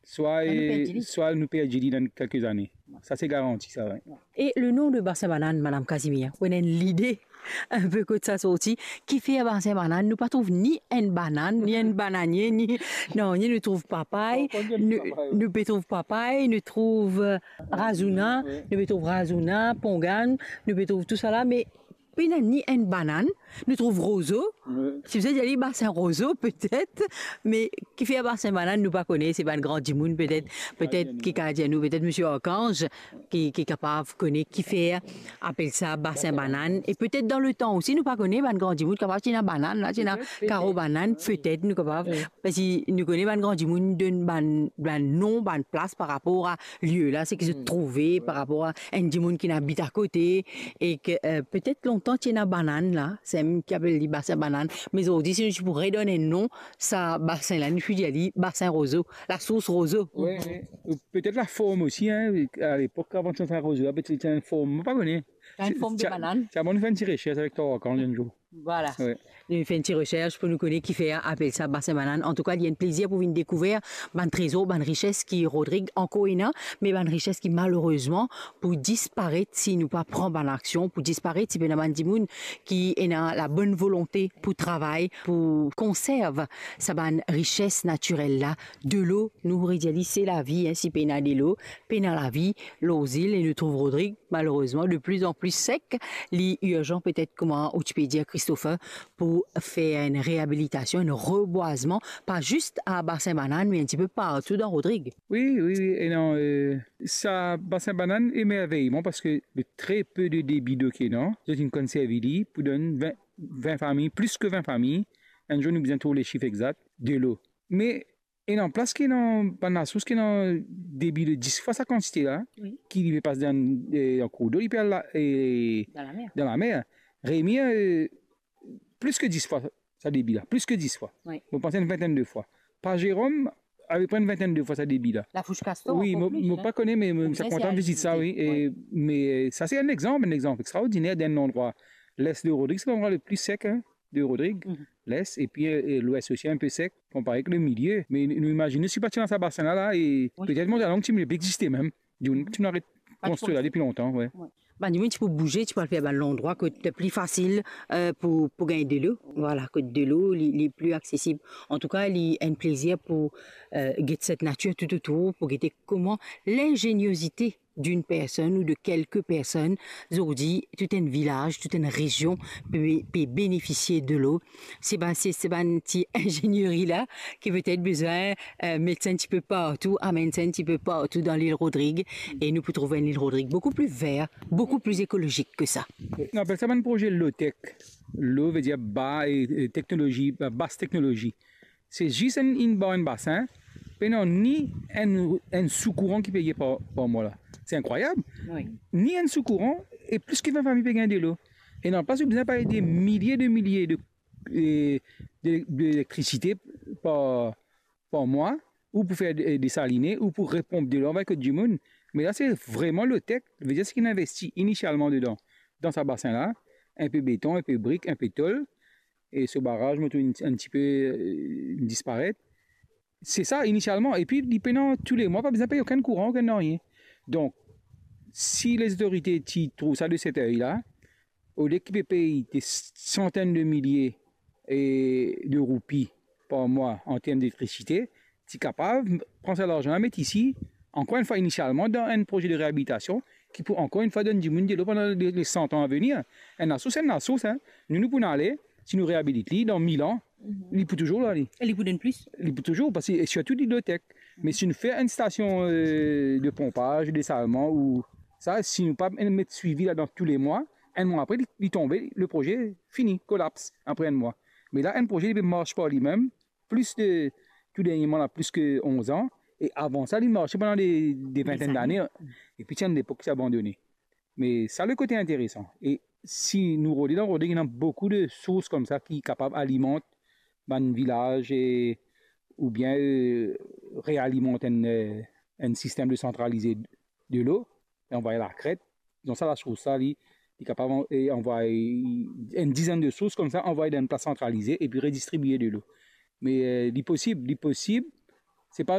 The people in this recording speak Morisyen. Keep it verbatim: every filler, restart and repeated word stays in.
Swa, swa nou perdi li dan kelke zane. Sa se garanti sa, wi. E le nom de Basin Banann, Madame Casimir, ou ena enn lide inpe kot sa sorti? Kifer Basin Banann? Nou pa trouv ni enn banann, ni enn bananie, ni, non, ni nou trouv papay, nou, nou pe trouv papay, nou trouv, euh, razouna, nou pe trouv razouna, pongann, nou pe trouv tou sa la, me pena ni enn banann. Nou trouv rozo. Wi. Si bizin dir li Basin Rozo, petet, me kifer Basin Banann, nou pa kone, se bann gran dimoun, petet, petet ki kapav dir nou, petet Misie Arkanz, ki, ki kapav kone kifer apel sa Basin Banann. E petet dan letan osi, nou pa kone, bann gran dimoun kapav ti ena banann la, ti ena karo banann, petet nou kapav, parski nou kone bann gran dimoun donn bann, bann nom, bann plas par rapor a lie la, seki zot trouve, par rapor a enn dimoun ki inn abit akote, e ki, euh, petet lontan ti ena banann la, se mem ki apel li Basin Banann, me zordi si nou ti pou redonn enn nom, sa basin la, nou pou dir li Basin Rozo, lasours Rozo. Wi, wi. Petet laform osi, hein, alepok, avan ti ena rozo, petet ti ena enn form, mo pa kone. Enn form de banann. Ti a bon nou fer enn ti resers avek twa Arkanz enn zour. Vwala. Wi. Nou fer enn ti resers pou nou kone kifer apel sa Basin Banann. Antouka, li enn plezir pou vinn dekouver bann trezor, bann rises ki Rodrig ankor ena, me bann rises ki malerezman pou disparet si nou pa pran bann aksion, pou disparet si pena bann dimoun ki ena labonn volonte pou travay, pou konserv sa bann rises natirel la. Delo, nou pou redir li, se lavi, hein, si pena delo, pena lavi lor zil, e nou trouv Rodrig, malerezman, de plus en plus sek. Li irzan petet, kouma ou ti pe dir, Christopher, pou fer enn reabilitasion, enn rebwazman, pa zis a Basin Banann, me enn tipe partou dan Rodrig. Wi, wi, wi, e non, euh, sa Basin Banann emervey mwa, parski le tre pe de debi dlo ki ena, zot inn konserv li pou donn vin, vin fami, plis ki vin fami. Enn zour nou bizin trouv lesif exak, delo. Me ena plas ki ena bann lasours ki ena debi de dis fwa sa kantite la, wi, ki li pe pas dan, eh, dan kourdlo, li pe al la, eh, dan lamer. Dan lamer. Remir, eh, plis ki dis fwa sa debi la, plis ki dis fwa. Wi. Mo panse enn vintenn de fwa. Pas Zerom, apepre enn vintenn de fwa sa debi la. Lafous Kastor, wi, ankor mo, plis, mo pa kone, me mo ti kontan vizit sa, wi. E, me, eh, sa se enn exanp, enn exanp extraordiner d'enn landrwa. Les de Rodrig, se landrwa le pli sek, hein, de Rodrig, les, epi, eh, lwes osi inpe sek, konpare ek le milie. Me nou imazine si pa ti ena sa basin la, la, e petet Montalong ti pou pa egziste mem. Dimoun ti pou aret konstrir la depi lontan, wi. Bann dimoun ti pou bouze, ti pou al fer bann landrwa kot pli fasil, eh, pou, pou gagn delo. Vwala, kot delo, li, li pli aksesib. Antouka, li enn plezir pou, eh, get set natir toutotour, pou gete kouma lingeniozite d'une personne ou de quelques personnes, zordi, tout enn vilaz, tout enn rezion pe, pe benefisie delo. Se bann, se, se bann ti inzenieri la ki petet bizin, eh, met sa enn tipe partou, amenn sa enn tipe partou dan lil Rodrig, e nou pou trouv enn lil Rodrig boukou pli ver, boukou pli ekolozik ki sa. Nou apel sa bann proze low-tech. Low ve dir ba, e, e, teknolozi, ba, bas teknolozi. Se zis enn, enn bar, enn basin, pena ni enn, enn sou kouran ki peye par, par mwa la. Se inkrwayab. Wi. Ni enn sou kouran, e plis ki vin fami pe gagn delo. E dan plas ou bizin pey de milie de milie de, e, de, de elektrisite par, par mwa, ou pou fer de, desaline, ou pou reponp delo, anvway kot dimoun. Me la, se vreman low-tech, ve dir seki inn investi inisialman dedan, dan sa basin la, inpe beton, inpe brik, inpe tol, e so baraz, mo trouv enn, enn tipe, eh, disparet. Se sa, inisialman. Epi, li pena toulemwa, pa bizin pey okenn kouran, okenn nanye. Donk, si lezotorite ti trouv sa de set ey la, olie ki pe pey de santenn de milie, e, de roupi par mwa an term elektrisite, ti kapav pran sa larzan la, met isi, ankor enn fwa inisialman, dan enn proze de reabilitasion ki pou ankor enn fwa donn dimoun delo pandan le, le san an a venir. Enn lasours, enn lasours, hein. Nou, nou pou ale, si nou reabilit li, dan mil an, li pou touzour la, li. E li pou donn plis? Li pou touzour, parski, e sirtou li low-tech. Me si nou fer enn stasion, eh, de ponpaz, desalman, ou sa, si nou pa met swivi ladan toulemwa, enn mwa apre, li, li tonbe, le proze fini, kolaps, apre enn mwa. Me la, enn proze, li pe mars par limem, plis de, tou dernieman la, plis ki onz an, e avan sa, li marse pandan de, de vintenn dane, epi ti enn lepok ti abandone. Me sa, le kote interesan. E si nou rode dan Rodrig, ena boukou de sours koumsa ki kapav alimant bann vilaz e, oubien, eh, realimant enn, eh, enn sistem de santralize delo, e anvway lakret. Donk sa, lasours sa, li, li kapav an-, e anvway enn dizenn de sours koumsa, anvway dan enn plas santralize epi redistribie delo. Me, eh, li posib, li posib. Se pa